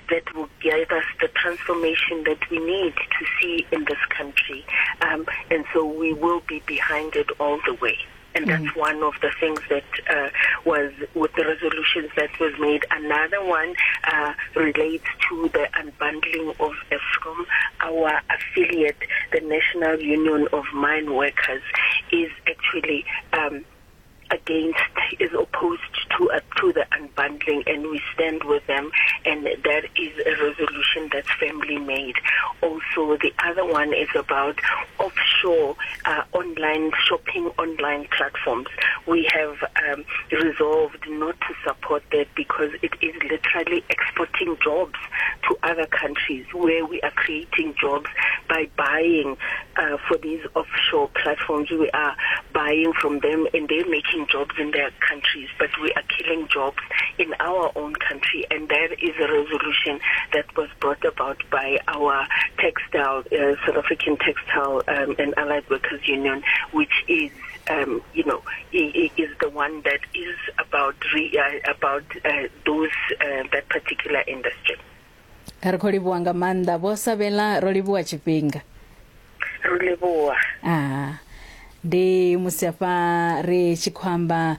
that will give us the transformation that we need to see in this country. Um, and so we will be behind it all the way. And that's mm. one of the things that uh, was with the resolutions that was made. Another one uh, relates to the unbundling of Eskom. Our affiliate, the National Union of Mine Workers, is actually um, against, is opposed to uh, to the unbundling, and we stand with them. And that is a resolution that's firmly made. Also, the other one is about offshore uh, online shopping, online platforms. We have um, resolved not to support that because it is literally exporting jobs to other countries where we are creating jobs by buying uh, for these offshore platforms. We are buying from them and they're making jobs in their countries, but we are killing jobs in our own country. And that is a resolution that was brought about by our textile, uh, South African Textile um, and Allied Workers Union, which is um, you know, is the one that is about re, uh, about uh, those uh, that particular industry. Ri khou livhuwa nga maanḓa vho Sabela, ro livhuwa tshifhinga. Ro livhuwa. Ah, ndi musi afha ri tshi khou amba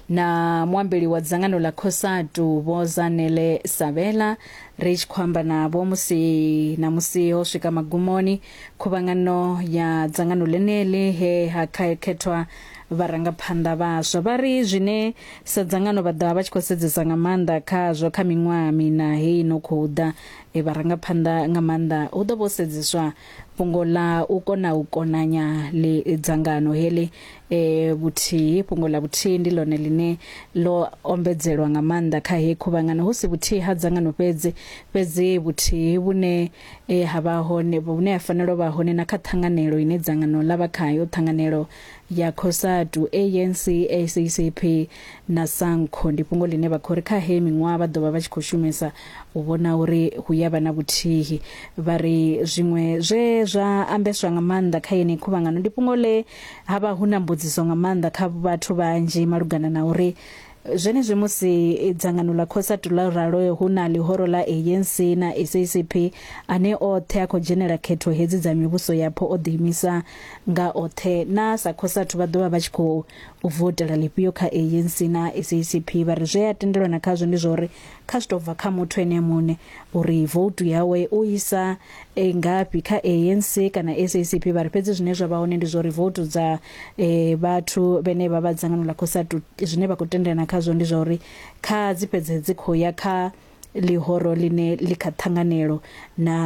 na muambeli wa dzangano ḽa Cosatu Vho Zanele Sabela ri tshi khou amba navho musi na musi ho swika magumoni khuvhangano ya dzangano ḽeneḽi he ha khethwa vharangaphanḓa vhaswa vha ri zwine sa dzangano vha ḓovha vha tshi khou sedzesa nga maanḓa khazwo kha miṅwaha mina heyi no khou ḓa e vharangaphanḓa nga maanḓa hu ḓo vho sedzeswa fhungo ḽa u kona u konanya ḽi dzangano heḽi e vhuthihi fhungo ḽa vhuthihi ndi ḽone ḽine ḽo ombedzelwa nga maanḓa kha heyi khuvhangano hu si vhuthihi ha dzangano fhedzi fhedzi vhuthihi vhune e ha vha hone vhune ha fanela u vha hone na kha ṱhanganelo ine dzangano ḽa vha khayo ṱhanganelo ya Cosatu, ANC, SACP na Sanco. Ndi fhungo ḽine vha khou ri kha heyi miṅwaha vha ḓo vha vha tshi khou shumisa u vhona uri hu ya vha na vhuthihi. Vha ri zwiṅwe zwe zwa ambeswa nga maanḓa kha yeneyi khuvhangano ndi fhungo ḽe ha vha hu na mbudziso nga maanḓa kha vhathu vhanzhi malugana na uri Zwenezwi musi dzangano ḽa Cosatu ḽo ralo hu na ḽihoro ḽa ANC na SACP ane oṱhe a khou dzhenela khetho hedzi dza mivhuso yapo o ḓiimisa nga oṱhe. Na sa Cosatu vha ḓo vha vha tshi khou voutela ḽifhio kha ANC na SACP? Vha ri zwe a tendelana khazwo ndi zwa uri kha zwi tou bva kha muthu ene muṋe uri voutu yawe u isa e, ngafhi kha ANC kana SACP vha ri fhedzi zwine zwa vha hone ndi zwa uri voutu dza e, vhathu vhene vha vha dzangano ḽa Cosatu zwine vha khou tendelana khazwo ndi zwa uri kha dzi fhedze dzi khou ya kha ḽihoro ḽine ḽi kha ṱhanganelo na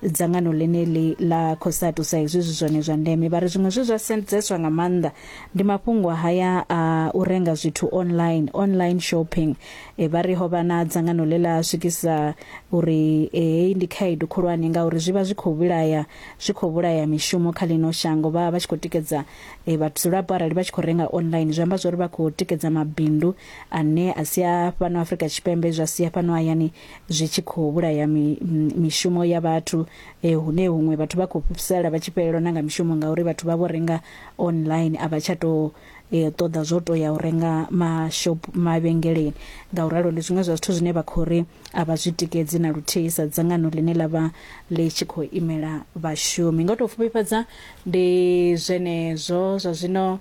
dzangano ḽeneḽi ḽa Cosatu sa izwi zwi zwone zwa ndeme. Vha ri zwiṅwe zwe zwa sedzeswa nga maanḓa ndi mafhungo haya a u renga zwithu online, online shopping. E, vha ri ho vha na dzangano ḽe ḽa swikisa uri heyi ndi khaedu khulwane ngauri zwi vha zwi khou vhulaya zwi khou vhulaya mishumo kha ḽino shango. Vha vha tshi khou tikedza e, vhadzulapo arali vha tshi khou renga online zwi amba zwori vha khou tikedza mabindu ane a si a fhano Afrika Tshipembe zwa sia fhano hayani zwi tshi khou vhulaya mi, mishumo ya vhathu e, hune huṅwe vhathu vha khou sala vha tshi fhelelwa na nga mishumo ngauri vhathu vha vho renga online a vha tsha tou e, ṱoḓa zwo to ya u renga mashop mavhengeleni. Ngauralo ndi zwiṅwe zwa zwithu zwine vha khou ri a vha zwi tikedzi na luthihi sa dzangano ḽine ḽa vha ḽi tshi khou imela vhashumi. Nga u tou pfufhifhadza ndi zwenezwo zwa zwino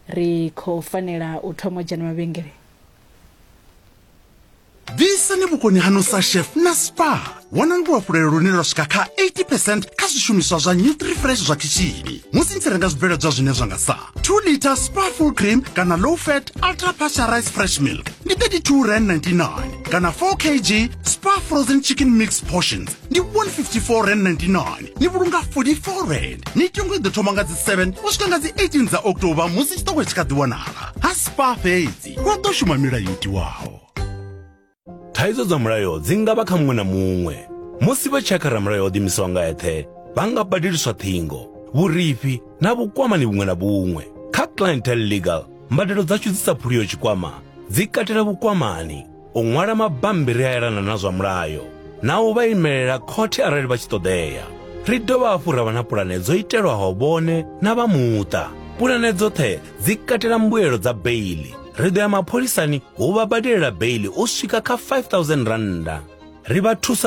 ri khou fanela u thoma u dzhena mavhengeleni. Bvisani vhukoni haṋu sa chef na spa. Wanani luhafhulelo lune lwa swika kha 80 percent kha zwishumiswa zwa Nutrifresh zwa khishini musi ni tshi renga zwibveledzwa zwine zwa nga sa 2 liter spa full cream kana low fat ultra pasteurized fresh milk ndi 32 rand 99 kana 4 kg spa frozen chicken mix portions ndi 154 rand 99. Ni vhulunga 44 rand. Mitengo i ḓo thoma nga dzi 7 u swika nga dzi 18 dza October musi tshiṱoko tshi kha ḓi wanala ha spa fhedzi. Hu ḓo shuma milayo yo tiwaho. Thaidzo dza mulayo dzi nga vha kha muṅwe na muṅwe. Musi vha tshi ya kha ramulayo o ḓiimisaho nga eṱhe, vha nga badeliswa ṱhingo, vhurifhi na vhukwamani vhuṅwe na vhuṅwe. Kha Clientele Legal, mbadelo dzashu dzi sa phuliho tshikwama dzi katela vhukwamani, u ṅwala mabammbiri a elana na zwa mulayo na u vha imelela khothe arali vha tshi ṱoḓea. Ri dovha hafhu ra vha na pulane dzo itelwaho vhone na vha muṱa. Pulane dzoṱhe dzi katela mbuelo dza beiḽi. Ri ḓo ya mapholisani hu vha badelela beiḽi u swika kha R5000. Ri vha thusa.